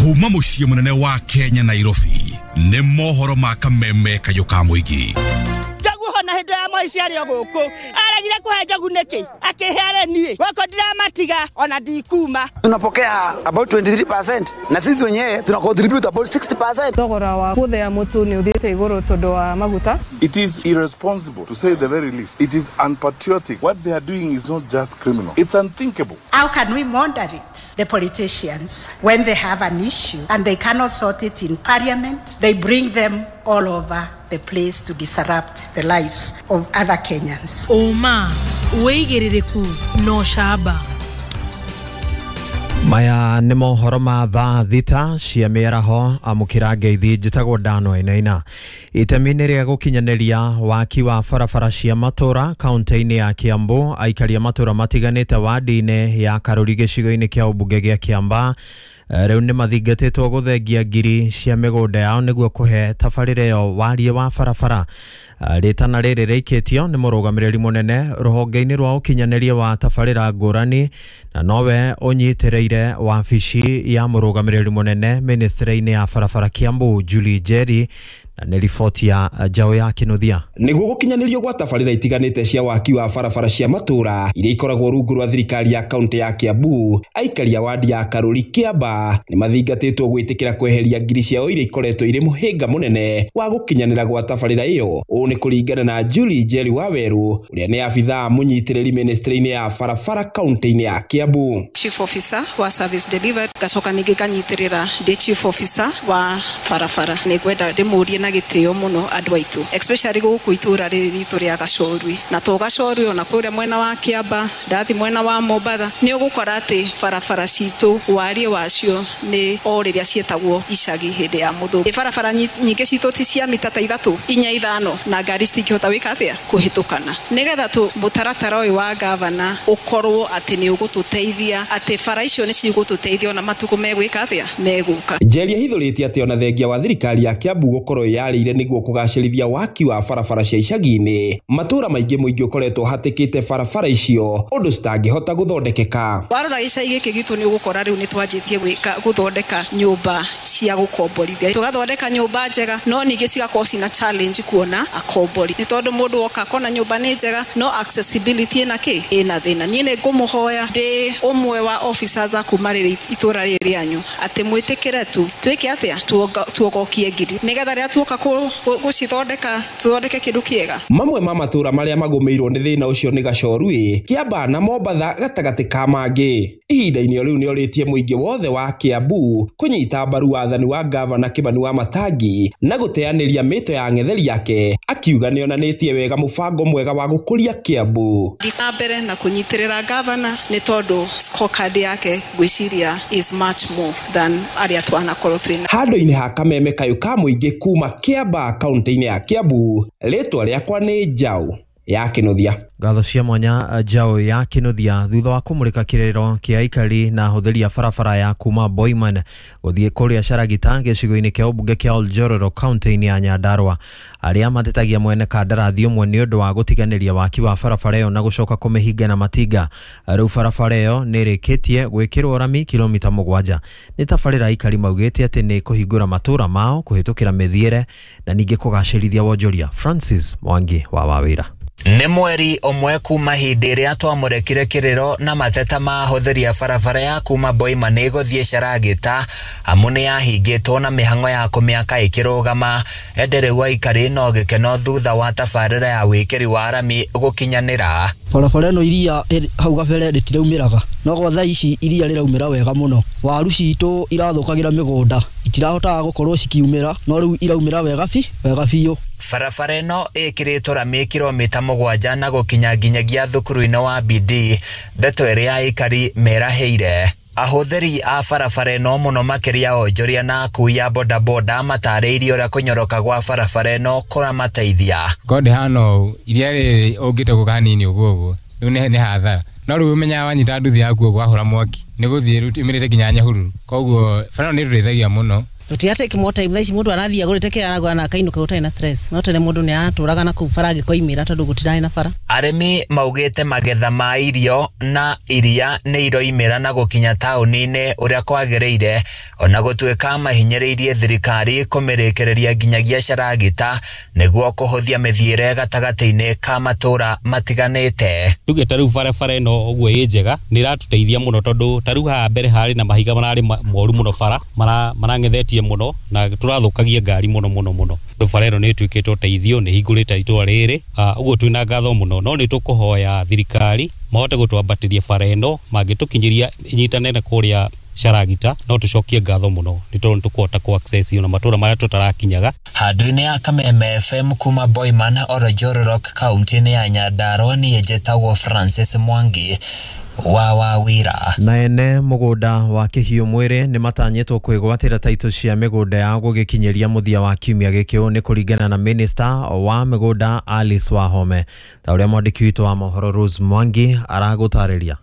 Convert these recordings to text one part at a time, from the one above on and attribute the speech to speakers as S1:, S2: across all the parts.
S1: Kuma mũciĩ mũnene wa Kenya Nairobi nĩ mohoro ma kameme kayũ ka mũingĩ.
S2: Njogu hona hĩndĩ ya Moi arĩ o gũkũ aregire kũhe njogu nĩkĩ akĩhe arĩ niĩ gũkũ ndiramatiga ona ndikuma.
S3: Tunapokea about 23% na sisi wenyewe tuna contribute about 60%.
S4: Thogora wa gũthĩa mũtu nĩ ũthiĩte igũrũ tondũ wa maguta.
S5: It is irresponsible, to say the very least. It is unpatriotic. What they are doing is not just criminal. It's unthinkable.
S6: How can we moderate the politicians when they have an issue and they cannot sort it in parliament? They bring them all over the place to disrupt the lives of other Kenyans.
S7: Ũma, wĩigĩrĩrĩku na ũcamba.
S8: Maya nĩ mohoro ma thaa 6 cia mĩaraho. Amũkĩra ngeithi, njĩtagwo Dano Ainaina. Itemi-inĩ rĩa gũkinyanĩria waki wa barabara cia matũra kaunti-inĩ ya Kiambu, aikari a matũra matiganĩte wadi-inĩ ya Karuri gĩcigo-inĩ kĩa ũmbunge gĩa Kiambaa rĩu nĩ mathingatĩtwo gũthengia ngiri cia mĩgũnda yao nĩguo kũhe tabarĩra ĩyo wariĩ wa barabara. Rĩtana rĩrĩ rĩikĩtio nĩ mũrũgamĩrĩri mũnene rũhonge-inĩ rwa ũkinyanĩria wa tabarĩra ngũrani na nowe ũnyitĩrĩire wabici ya mũrũgamĩrĩri mũnene ministry-inĩ ya barabara Kiambu, Julie Njeri, na nĩ riboti ya Njaũ ya Kĩnuthia.
S9: Nĩguo gũkinyanĩrio gwa tabarĩra itiganĩte cia waki wa barabara cia matũra iria ikoragwo rungu rwa thirikari ya kaunti ya Kiambu, aikari a wadi ya Karuri Kiambaa nĩ mathingatĩtwo gwĩtĩkĩra kweheria ngiri ciao iria ikoretwo irĩ mũhĩnga mũnene wa gũkinyanĩra gwa tabarĩra ĩyo. Ũũ nĩ kũringana na Julie Njeri Wawerũ ũrĩa nĩ abithaa mũnyitĩrĩri ministry-inĩ ya barabara kaunti-inĩ ya Kiambu.
S10: Chief Officer wa Service Delivery ngacoka ningĩ nganyitĩrĩra ndĩ Chief Officer wa barabara. Nĩngwenda ndĩmũrie na gĩtĩo mũno andũ aitũ, especially gũkũ itũra rĩrĩ ritũ rĩa Gacorwi, na to Gacorwi ona kũrĩa mwena wa Kiambaa, ndathi mwena wa Mombatha, nĩ ũgũkora atĩ barabara citũ wariĩ wacio nĩ o rĩrĩa ciĩtagwo icagi hĩndĩ ya mũthũngũ. Barabara nyingĩ citũ ti cia mita ta 3, 4, 5 na ngari citingĩhota gwĩka atĩa kũhĩtũkana. Nĩgetha tu mũtaratara ũyũ wa gavana ũkorwo atĩ nĩ ũgũtũteithia, atĩ bara icio nĩ cigũtũteithia ona matukũ megwĩka atĩa megũka.
S9: Njeri ahithũrĩtie atĩ ona thengia wa thirikari ya Kiambu gũkorwo yarĩire nĩguo kũgacĩrithia waki wa barabara cia icagi-inĩ, matũra maingĩ mũingĩ ũkoretwo hatĩkĩte barabara icio ũndũ citangĩhota gũthondekeka.
S10: Warora gĩcagi gĩkĩ gitũ nĩ ũgũkora rĩu nĩ twanjĩtie gwĩka gũthondeka nyũmba cia gũkomborithia, tũgathondeka nyũmba njega, no ningĩ cigakorwo cina challenge kuona akombori, nĩ tondũ mũndũ woka akona nyũmba nĩ njega no accessibility ĩna kĩ ĩna thĩna. Niĩ nĩ ngũmũhoya ndĩ ũmwe wa officers a kuma rĩrĩ itũra rĩrĩ rĩanyu atĩ mwĩtĩkĩre tu twĩke atĩa tuogokie ngiri nĩgetha rĩrĩa tuoka gũcithondeka tuthondeke kĩndũ kĩega.
S9: Mamwe ma matũra marĩa magũmĩirwo nĩ thĩna ũcio nĩ Gacorwi, Kiambaa na Mombatha gatagatĩ ka mangĩ. Ihinda-inĩ o rĩu nĩorĩtie mũingĩ wothe wa Kiambu kũnyita mbaru wathani wa gavana Kĩmani wa Matangi na gũteanĩria mĩto ya ng'etheri yake, akiuga nĩonanĩtie wega mũbango mwega wa gũkũria Kiambu.
S10: Na mbere na kũnyitĩrĩra gavana nĩ tondũ scorecard yake ngwĩciria is much more than arĩa twanakorwo twĩna.
S9: Handũ-inĩ ha kameme kayũ ka mũingĩ kuma Kiambaa kaunti-inĩ ya Kiambu, rĩtwa rĩakwa nĩ Njaũ ya Kĩnuthia.
S8: Ngatho cia mwanya Njaũ ya Kĩnuthia thutha wa kũmũrĩka kĩrĩro kĩa aikari na ahũthĩri a barabara ya kuma Boiman gũthiĩ kũrĩa Caragita gĩcigo-inĩ kĩa ũmbunge kĩa Oljororo kaunti-inĩ ya Nyandarua, arĩa matetagia mwene kandarathi ũmwe nĩ ũndũ wa gũtiganĩria waki wa barabara ĩyo na gũcoka kũmĩhinga na matinga. Rĩu barabara ĩyo nĩ ĩrĩkĩtie gwĩkĩrwo rami kilomita 7. Nĩ tabarĩra aikari maugĩte atĩ nĩ kũhingũra matũra mao kũhĩtũkĩra mĩthiĩre na ningĩ kũgacĩrithia wonjoria. Francis Mwangi wa Wawĩra.
S11: Nĩ mweri ũmwe kuma hĩndĩ ĩrĩa twamũrĩkire kĩrĩro na mateta ma ahũthĩri a barabara ya kuma Boima nĩ gũthiĩ Caragita, amu nĩ yahingĩtwo na mĩhang'o ya kũmĩaka ĩkĩrũgama. Ĩndĩ rĩu aikari no gĩkeno thutha wa tabarĩra ya wĩkĩri wa rami gũkinyanĩra.
S12: Barabara ĩno iria hau gabere rĩtiraumĩraga, no gwa thaa ici iria rĩraumĩra wega mũno. Waru citũ irathũkagĩra mĩgũnda, itirahotaga gũkorwo cikiumĩra, no rĩu iraumĩra wega biũ.
S11: Barabara ĩno ĩkĩrĩtwo rami kilomita 7 na gũkinya nginyagia thukuru-inĩ wa BD, ndeto ĩrĩa aikari merahĩire. Ahũthĩri a barabara ĩno mũno makĩria onjoria na akui a bodaboda matarĩirie ũrĩa kũnyoroka gwa barabara ĩno kũramateithia.
S13: Korwo ndĩhana ũũ, iria rĩrĩ ũngĩte gũka hanini ũguo ũguo, rĩu nĩ hathara. No rĩu ũmenyaga wanyita nduthi yaku ũguo wahũra mwaki, nĩ gũthiĩ rĩu ĩmĩrĩte nginya Nyahururu. Koguo barabara ĩno nĩ ĩtũteithagia mũno.
S14: Tũtiratake more time. Thaa ici mũndũ arathiĩ agũrĩte kĩrĩa aragũra na akainũka gũtarĩ na stress. No tene mũndũ nĩ aratũraga na kũu bara angĩkoimĩra tondũ gũtirarĩ na bara.
S11: Arĩmi maugĩte magetha ma irio na iria nĩ iroimĩra na gũkinya taũni-inĩ ũrĩa kwagĩrĩire, ona gũtuĩka mahinyĩrĩirie thirikari kũmĩrĩkĩrĩria nginyagia Caragita nĩguo kũhũthia mĩthiĩre gatagatĩ-inĩ ka matũũra matiganĩte.
S15: Tuge ta rĩu barabara ĩno ũguo ĩ njega nĩ ĩratũteithia mũno, tondũ ta rĩu haha mbere harĩ na mahiga mararĩ moru mũno, bara marang'ethetie mũno na tũrathũkagia ngari mũno mũno mũno. Bara ĩno nĩ ĩtuĩkĩte ũteithio, nĩ ĩhingũrĩte itũra rĩrĩ, ũguo twĩna ngatho mũno, no nĩ tũkũhoya thirikari mahote gũtwambatĩria bara ĩno, mangĩtũkinyĩria ĩnyitane na kũrĩa Caragita no tũcokie ngatho mũno, nĩ tondũ nĩ tũkũhota kũ access ona matũra marĩa tũtarakinyaga.
S11: Handũ-inĩ ya Kameme FM kuma Boiman Oronjororok kaunti-inĩ ya Nyandarua, niĩ njĩtagwo Francis Mwangi wa Wawira.
S8: Na ene mũgũnda wa Kĩhiũ Mwĩrĩ nĩ matanyĩtwo kwĩgwatĩra taitũ cia mĩgũnda yao gũgĩkinyĩria mũthia wa kiumia gĩkĩ. Ũũ nĩ kũringana na minista wa mĩgũnda Alice Wahome, ta ũrĩa mwandĩki witũ wa mohoro Rose Mwangi aragũtarĩria.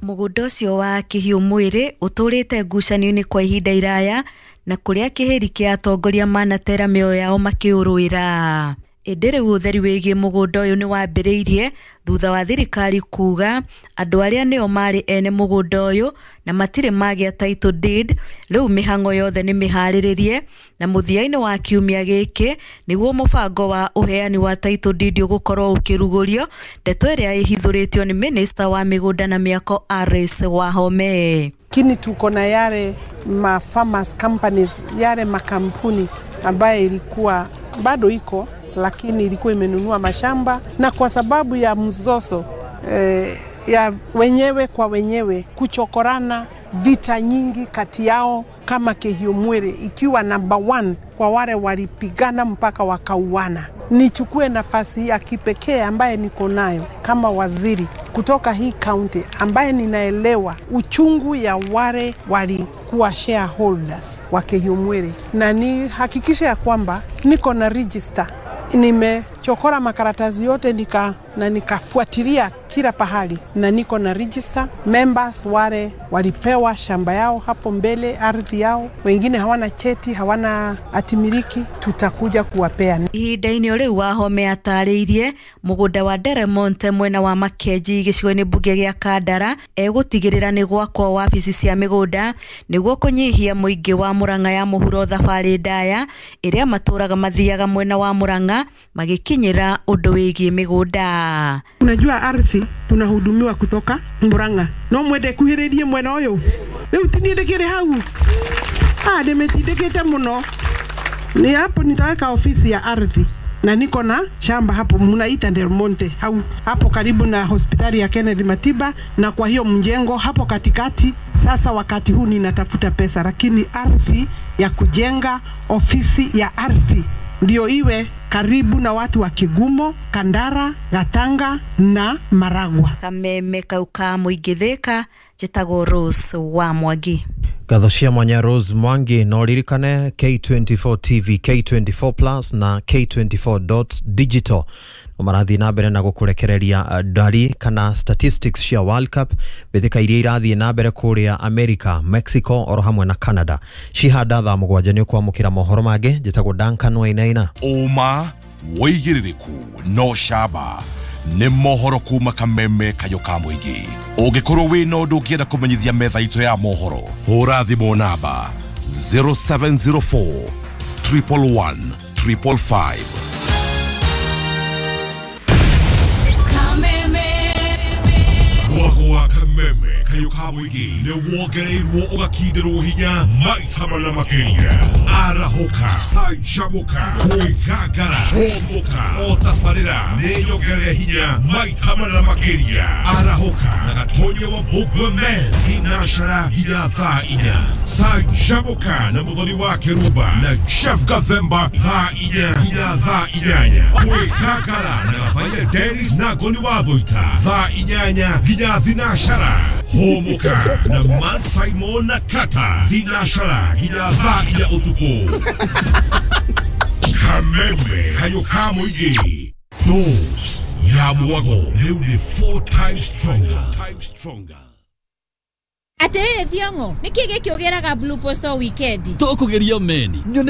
S16: Mũgũnda ũcio wa Kĩhiũ Mwĩrĩ ũtũrĩte ngucanio-inĩ kwa ihinda iraya, na kũrĩa kĩhĩri kĩa atongoria manatera mĩoyo yao makĩũrũĩra. Ĩndĩ rĩu ũtheri wĩgiĩ mũgũnda ũyũ nĩ wambĩrĩirie thutha wa thirikari kuga andũ arĩa nĩo marĩ ene mũgũnda ũyũ na matirĩ magĩa title deed, rĩu mĩhang'o yothe nĩ mĩharĩrĩrie, na mũthia-inĩ wa kiumia gĩkĩ nĩguo mũbango wa ũheani wa title deed ũgũkorwo ũkĩrugũrio, ndeto ĩrĩa ĩhithũrĩtio nĩ minista wa mĩgũnda na mĩako Alice Wahome.
S6: Lakini tuko na yale ma farmers companies, yale makampuni ambaye ilikuwa bado iko, lakini ilikuwa imenunua mashamba, na kwa sababu ya mzozo ya wenyewe kwa wenyewe kuchokorana, vita nyingi kati yao, kama Kĩhiũ Mwĩrĩ ikiwa number 1 kwa wale walipigana mpaka wakauana. Nichukue nafasi ya kipekee ambaye niko nayo kama waziri kutoka hii county, ambaye ninaelewa uchungu ya wale walikuwa shareholders wa Kĩhiũ Mwĩrĩ, na nihakikishe ya kwamba niko na register, nimechokora makaratasi yote na nikafuatilia kila pahali, na niko na register members wale walipewa shamba yao hapo mbele, ardhi yao, wengine hawana cheti, hawana atimiliki, tutakuja kuwapea.
S16: Ihinda-inĩ rĩu Wahome atarĩirie mũgũnda wa Deremonte mwena wa Makenji gĩcigo-inĩ mbunge gĩa Kandara egũtigĩrĩra nĩ gwakwo wabici cia mĩgũnda nĩguo kũnyihia mũingĩ wa Murang'a ya mũhuro thabarĩ ndaya ĩrĩa matũraga mathiaga mwena wa Murang'a magĩkinyĩra ũndũ wĩgiĩ mĩgũnda.
S6: Unajua ardhi tunahudumiwa kutoka Murang'a, no mwende kuhĩrĩrie mwena ũyũ rĩu tinie ndĩkĩrĩ hau, ndĩmĩtindĩkĩte mũno. Ni hapo nitaweka ofisi ya ardhi, na niko na shamba hapo mnaita Del Monte hapo karibu na hospitali ya Kenneth Matiba, na kwa hiyo mjengo hapo katikati. Sasa wakati huu ninatafuta pesa, lakini ardhi ya kujenga ofisi ya ardhi ndio iwe karibu na watu wa Kigumo, Kandara, Gatanga na Maragwa.
S16: Kameme kau ka mũingĩ Thĩka, njĩtagwo Rose wa Mwangi.
S8: Ngatho cia mwanya Rose Mwangi. No ririkane K24 TV, K24 Plus na K24.digital marathiĩ na mbere na gũkũrekereria ndari kana statistics cia World Cup, mbĩtĩka iria irathiĩ na mbere kũrĩa America, Mexico oro hamwe na Canada. Cihanda thaa 7 nĩ ũkwamũkĩra mohoro mangĩ. Njĩtagwo Duncan Wainaina.
S1: Ũma wĩigĩrĩrĩku no camba nĩ mohoro kuma Kameme kayũ ka mũingĩ. Ũngĩkorwo wĩna ũndũ ũngĩenda kũmenyithia metha itũ ya mohoro, hũra thimũ namba 0704 111 555. Mwago wa Kameme kayũ ka mũingĩ nĩ wongereirwo ũgakindĩrwo hinya maita mana makĩria. Arahũka, canjamũka, kwĩgangara, hũmũka, o tabarĩra nĩ nyongerere hinya maita mana makĩria. Arahũka na Gatonya wa Mbũgua Men thinashara nginya thaa 4. Canjamũka na Mũthoni wa Kĩrumba na Chef Gathemba thaa 4 nginya thaa 8. Kwĩgangara na Gathaiya Dennis na Ngoni wa Thũita thaa 8 nginya thinashara. Hũmũka na Man Simon na Kata thinashara nginya thaa 4 ũtukũ. Kameme kayũ ka mũingĩ. Dose ya mwago rĩu nĩ 4 times stronger.
S7: Atĩrĩrĩ Thiong'o, nĩkĩ gĩkĩ ũgĩraga Blue Post o weekend?
S17: Tũkũgeria meni nyone.